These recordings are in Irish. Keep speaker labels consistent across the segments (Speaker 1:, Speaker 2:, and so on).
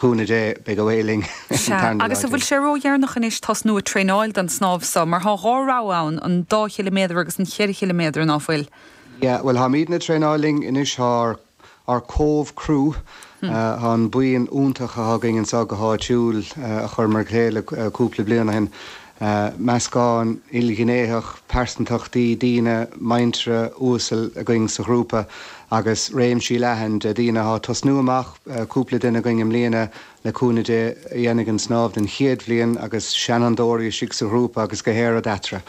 Speaker 1: Cúnamh Dé, beidh away linn an
Speaker 2: Sea,
Speaker 1: tarna lá
Speaker 2: agus an bhfuil
Speaker 1: déag.
Speaker 2: sé ródheireanach anois tosnú ag traenáil don snámh so, mar thá dhá rogha ann, an dá chiliméadar agus an cheithre chiliméadar, ná fuil?
Speaker 1: Yeah, bhuel tháimídne ag traenáil linn anois, thá ár, ár Cove Crew, thá an buíon iontach athá againn anso go háitiúil a chuireamar le chéile cúpla bliain ó shin, meascán ilghnéitheach pearsantachtaí, daoine muinteartha uasal againn sa ghrúpa agus réimsí leathan de daoine athá ag tosnú amach, Cúpla duine againn i mbliana, le cúnamh Dé, a dhéanfaidh an snámh den chéad bhliain agus seanfhondúirí istigh sa ghrúpa agus gach aon rud eatarthu.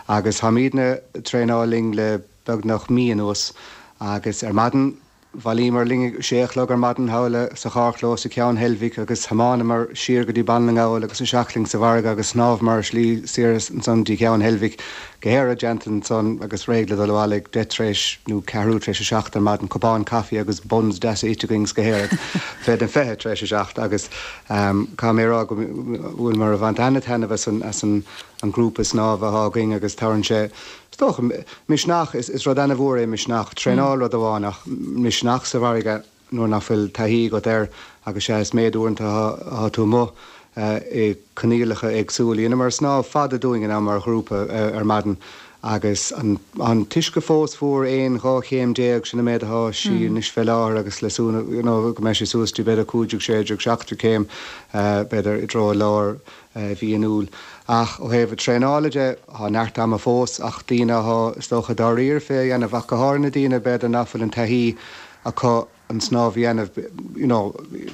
Speaker 1: Agus táimídne ag traenáil linn le beagnach mí anuas agus ar maidin bhailíomar linn ag sé a chlog ar maidin thall sa charrchlós i Ceann Heilbhic agus thiomáineamar siar go dtí Baile na nGall agus isteach linn sa bhfarraige agus shnámhamar ar slí soir ansan dtí Ceann Heilbhic Gach aon rud déanta ansan agus réidh le dul abhaile ag deich tar éis nó ceathrú tar éis a seacht ar maidin, cupán caife agus buns deasa ite againn 's gach aon rud fé den fiche tar éis a seacht agus caithfidh mé a rá go bhfuileamar ag baint ana-taitneamh as an as an an grúpa snámha athá againn agus tabharann sé is dócha misneach is is rud ana-mhór é misneach, traenáil rud amháin ach misneach sa bhfarraige. nuair nach bhfuil taithí agat air agus sea is méid uaireanta athá tú amuigh i coinníollacha éagsúla. Dheineamar snámh fada dúinn in am mar ghrúpa ar maidin agus an an t-uisce fós fuar, aon, 12 chéim, sin an méid athá sí anois fé láthair agus le súil you know go mbeidh sé suas dtí b'fhéidir 15, 16, 17 céim b'fhéidir i dtreo lár mhí an Iúil. Ach ó thaobh traenála de, thá neart ama fós ach daoine athá is dócha dáiríre fé a dhéanamh ach go háirithe na daoine b'fhéidir nach bhfuil an taithí acu an snámh a dhéanamh, you know,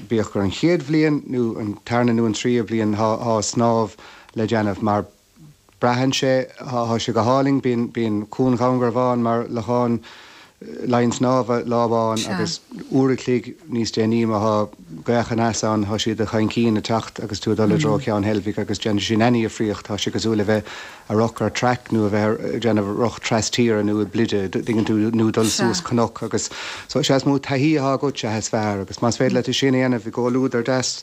Speaker 1: bíodh gur an chéad bhliain nó an tarna nó an tríú bliain, thá, thá snámh le déanamh mar braitheann sé, thá, thá sé go hálainn, bíonn, bíonn Cuan Dhún Garbhán mar lochán linn snámha lá amháin agus uair a chloig níos déanaí má thá gaoth aneas ann, thá siad chun cinn ag teacht agus tú ag dul i dtreo Cheann Heilbhic agus déanann sé sin ana-dhifríocht, thá sé cosúil le bheith ag rith ar traic nó a bheith ag déanamh rith tras-tíre nó i bpluide, dtuigeann tú, nó dul suas cnoc agus so sea is mó taithí athá agat sea is fearr agus más féidir leat é sin a dhéanamh i gcomhluadar deas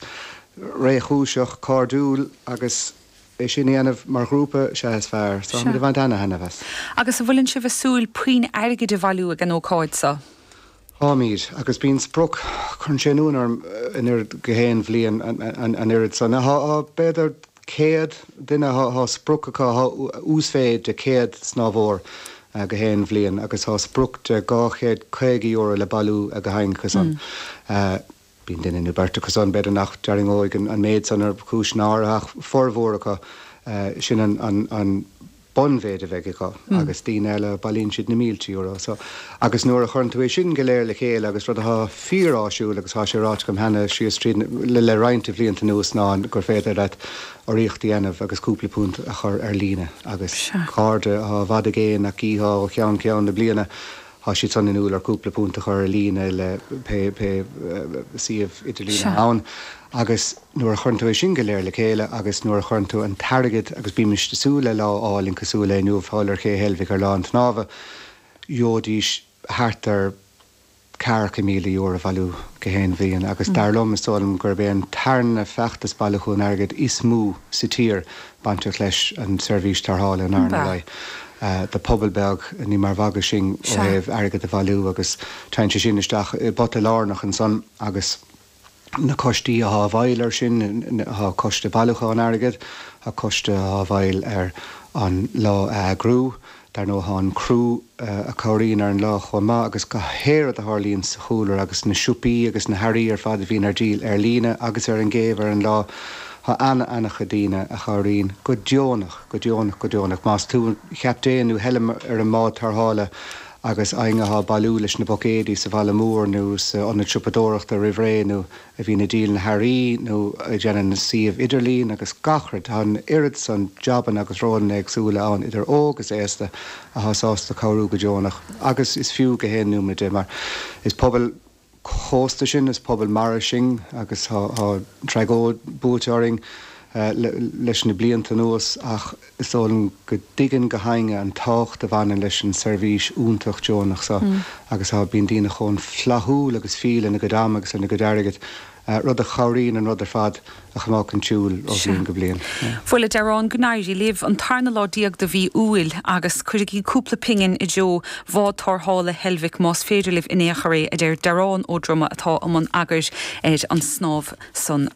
Speaker 1: réchúiseach cairdiúil agus é sin a dhéanamh mar ghrúpa sea is fearr. So táimid ag baint ana-thaitneamh as.
Speaker 2: Agus an bhfuileann sibh ag súil puinn airgid a bhailiú ag an ócáid so?
Speaker 1: Táimid, agus bíonn sprioc, cuireann sé ionadh orm an oiread gach aon bhliain an oiread san. Thá b'fhéidir 100 duine, thá sprioc acu, thá uasmhéid de 100 snámhóir gach aon bhliain agus thá sprioc de €250 le bailiú ag gach éinne acu san. Bíonn duine nó beirt acu san, b'fhéidir nach dtarraingeoidh an méid san ar chúiseanna áirithe ach formhór acu, sin an bunmhéid a bheidh acu agus daoine eile, bailíonn siad na mílte euro. So, agus nuair a chuireann tú é sin go léir le chéile agus rud atá fíor-áisiúil agus tá sé ráite agam cheana síos tríd le le roinnt de bhlianta anuas ná gur féidir leat urraíocht a dhéanamh agus cúpla punt a chur ar líne agus cairde atá i bhfad i gcéin nach gcífeá ó cheann ceann na bliana Thá siad san inniúil ar cúpla punt a chur ar líne le pé pé suíomh idirlín atá ann agus nuair a chuireann tú é sin go léir le chéile agus nuair a chuireann tú an t-airgead agus bímist ag súil le lá álainn cosúil le inniu thall ar Ché Heilbhic ar lá an tsnámha, gheobhaidís thart ar ceathracha míle euro a bhailiú gach aon bhliain agus dar liom, is dóigh liom gurb é an tarna feachtas bailiúchán airgid is mó sa tír bainteach leis an tseirbhís tarrthála in Abhainn an Alaidh. Do pobal beag, ní mar mhagadh sinn ó thaobh airgead a bhailiú agus téann sé sin isteach i bpota lárnach ansan agus na coistí athá i bhfeighil air sin, thá coiste bailiúcháin airgid, thá coiste athá i bhfeighil ar an lá a eagrú. Dar ndóigh thá an criú a cabhraíonn ar an lá chomh maith agus gach aon rud a tharlaíonn sa chúlra agus na siopaí agus na hearraí ar fad a bhíonn ar díol ar líne agus ar an gcéibh ar an lá. Thá ana-ana-chuid daoine a chabhraíonn go deonach, go deonach, go deonach. Más tú chaptaen nó heilm ar an mbád tarrthála agus éinne athá ag bailiú leis na buicéidí sa bhaile mór nó sa ionad siopadóireachta roimh ré nó a bhíonn ag díol na hearraí nó ag déanamh na suíomh idirlín agus gach rud. Tá an oiread san jabanna agus rólanna éagsúla ann idir óg is aosta athá sásta cabhrú go deonach agus is fiú gach aon nóiméad de mar is pobal cósta sinn, is pobal mara sinn agus tá tragóid buailte orainn leis na blianta anuas ach is dóigh liom go dtuigeann gach éinne an tábhacht a bhaineann leis an seirbhís iontach deonach seo agus tá, bíonn daoine chomh flaithiúil agus fial lena gcuid ama agus lena gcuid airgid. rud a chabhraíonn an rud ar fad a choimeád chun siúil ó bhliain go bliain.
Speaker 2: Bhuel, a Dearáin, go n-éirí libh. An tarna lá déag de mhí Iúil agus cuirigí cúpla pingin i dtreo Bhád Tarrthála Heilbhic más féidir libh in aon chor é, a deir Dearán Ó Droma atá i mbun eagair ar an snámh san.